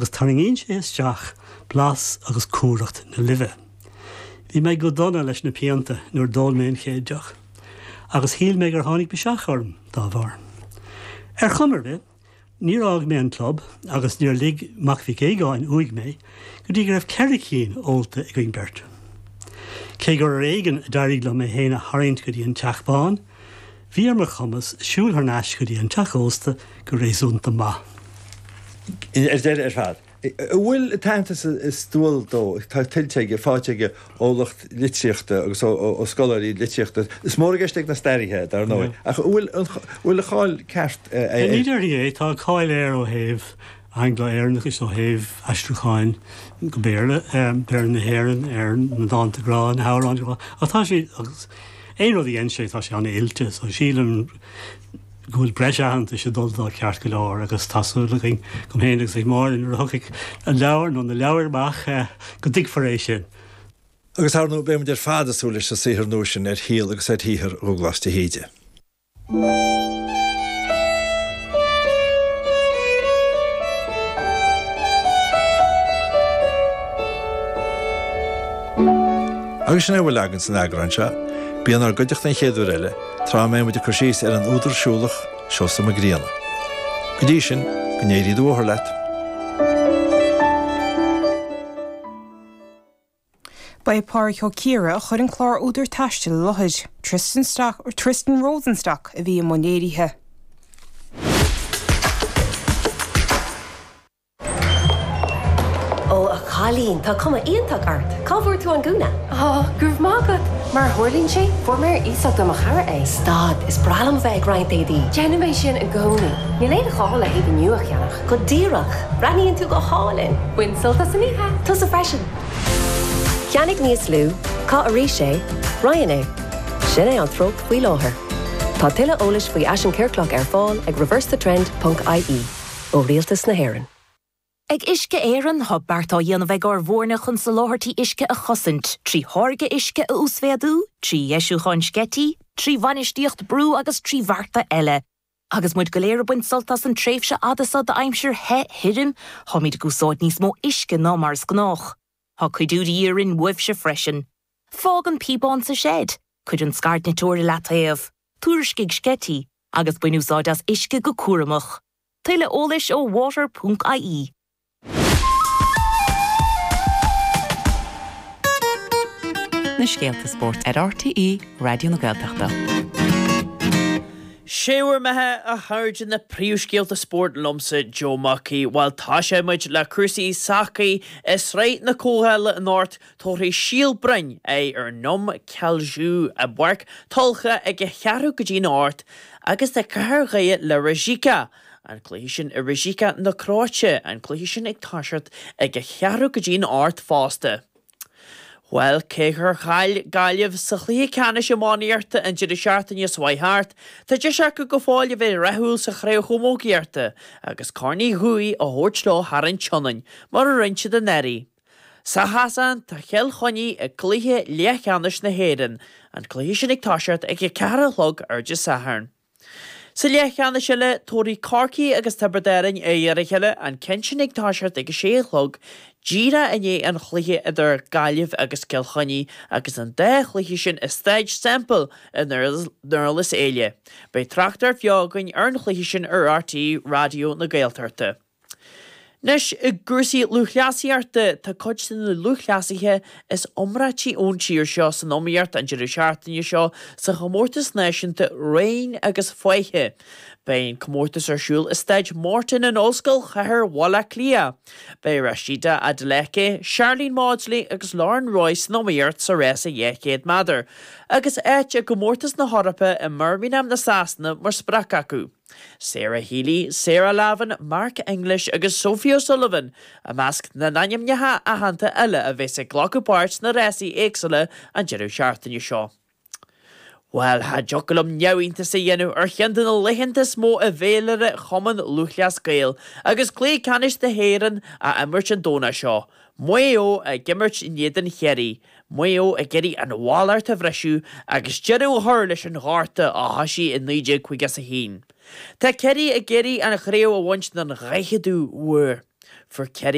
Agus tarraingíonn sé isteach blas agus cumhracht na luibhe. Bhí mé go dona leis na pianta nuair d'ól mé an chéad deoch, agus shíl mé gur tháinig biseach orm dá bharr. Ar chuma ar bith, níor fhág mé an club agus níor lig Mac Mhic Aogáin uaidh mé go dtí go raibh 4 cinn ólta againn beirt. Cé gur ar éigean a d'éirigh liom mé féin a tharraingt go dtí an Teach Bán, Bhí ar mo chumas siúl thar n-ais go dtí an teach ósta go réasúnta maith. Ar deireadh ar fad, an bhfuil an t-aitheantas is dual dó, atá tuillte aige, faighte aige ó lucht litríochta agus ó scoláirí litríochta? Is mór i gceist ag na staraithe, dar ndóigh, ach an bhfuil an bhfuil a cháil ceart air? Ní déarfainn é. Tá cáil air ó thaobh Angla-Éireannachais, ó thaobh aistriúcháin go Béarla, Béarla na hÉireann, ar na dánta grá, na hamhráin ghrá, ach tá sé, agus aon rud a dhein sé, tá sé an-oilte, so sílim go bhfuil breis aitheantais ag dul dó ceart go leor agus tá súil againn, agam féin agus ag Máire, nuair a thiocfaidh an leabhar nó na leabhair amach, go dtuigfear é sin. Agus, ar ndóigh, beidh muid ar fad ag súil leis an saothar nua sin ar shaol agus ar shaothar Dhubhghlas de hÍde. Agus sin é a bhfuil againn san eagrán seo. Bí inár gcuideachta an chéad uair eile, tráth a mbeidh muid ag cur síos ar an údar siúlach, Seosamh Mac Grianna. Go dtí sin, go n-éirí do bhóthar leat. Ba é Pádraig Ó Ciardha a chuir an clár Údar Taistil i láthair. Tristan Stock, Tristan Rosenstock a bhí i mbun léirithe. Ó, a chailín, tá cuma iontach ort! Cá bhfuair tú an gúna? Á, go raibh maith agat! Mar a tharlaíonn sé, fuair mé ar iasacht ó mo chara é. Stad, is breá liom a bheith ag roinnt éadaí. Déanaim é sin i gcónaí. Níl aon ghá le héadaí nua a cheannach. Go díreach! Breathnaíonn tú go hálainn! Bain sult as an oíche! Tusa freisin! Ceannaigh níos lú, caith arís é, roinn é. Sin é an treocht faoi láthair. Tá tuilleadh eolais faoi fhaisean ciorclach ar fáil ag reversethetrend ponc ie ó Rialtas na hÉireann. Ag Uisce Éireann, tá bearta á dhéanamh ag ár bhfoirne chun soláthairtí uisce a chosaint, trí tháirgeadh uisce a uasmhéadú, trí dheisiúcháin sceití, trí bhainistíocht brú agus trí bhearta eile. Agus muid go léir ag baint sult as an tréimhse fhada seo d'aimsir the thirim, táimid ag úsáid níos mó uisce ná mar is gnách. Tá cuidiú de dhíth orainn uaibhse freisin. Fág an píobán sa seid, cuir an scairdniteoir i leataobh, tuairiscigh sceití, agus bain úsáid as uisce go cúramach. Tuilleadh eolais ó water.ie. Na scéalta spóirt ar RTÉ Raidió na Gaeltachta. Sé bhur mbeatha a chairde na príomhscéalta spóirt liomsa Joe Mac Aoidh. Bhuel tosóidh muid le cúrsaí sacair i Sraith na Comhdhála anocht tabharfaidh Síol Broin aghaidh ar Noum Kelju i bPáirc Tulcha ag a cheathrú go dtí'n 8 agus tá Cathair Dhoire le Rijeka An cluiche sin i Rijeka na Cróite, an cluiche sin ag toiseacht ag a cheathrú go dtí'n 8 fosta. Bhuel, cé gur chaill Gaillimh sa chluiche ceannais iománaíochta an deireadh seachtaine seo chuaigh thart, tá deis acu go fóill a bheith rathúil sa chraobh chamógaíochta agus Corn Uí Dhubhthaigh a thabhairt leo thar an tSionainn, mar a rinne siad anuraidh. Sa chasán, tá Cill Chainnigh i gcluiche leathcheannais na hÉireann, an cluiche sin ag toiseacht ag a ceathair a chlog ar Dé Sathairn. Sa leathcheannais eile, tabharfaidh Corcaigh agus Tiobraid Árann aghaidh ar a chéile, an ceann sin ag toiseacht ag a sé a chlog, díreach i ndiaidh an chluiche idir Gaillimh agus Cill Chainnigh agus an dá chluiche sin i Staid Semple i nDurlas Éile. Beidh tráchtaireacht bheo againn ar an chluiche sin ar RTÉ Raidió na Gaeltachta. Anois, i gcúrsaí lúthchleasaíochta, tá cuid de na lúthchleasaithe is iomráití ón tír seo san iomaíocht an deireadh seachtaine seo sa chomórtas náisiúnta Raoin agus Faiche. Beidh an comórtas ar siúl i Staid Morton in Ollscoil Chathair Bhaile Átha Cliath. Beidh Rhasidat Adeleke, Sharlene Mawdsley agus Lauren Roy san iomaíocht sa rása 200 méadar, agus áit i gcomórtas na hEorpa i mBirmingham na Sasana mar sprioc acu. Sarah Healy, Sarah Lavin, Mark English agus Sophie O'Sullivan i measc na n-ainmneacha aitheanta eile a bheas ag glacadh páirt sna rásaí éagsúla an deireadh seachtaine seo. Bhuel, cha dtiocfadh liom neamhiontas a dhéanamh ar cheann de na laethanta is mó i bhféilire Chumann Lúthchleas Gael agus Cluiche Ceannais na hÉireann á imirt an Domhnach seo, Maigh Eo ag imirt in éadan Chiarraí, Maigh Eo ag iarraidh an mhallacht a bhriseadh agus deireadh a chur leis an ghorta a thoisigh i 1951. Tá Ciarraí ag iarraidh an chraobh a bhaint don dhaicheadú huair. Fuair Kerry.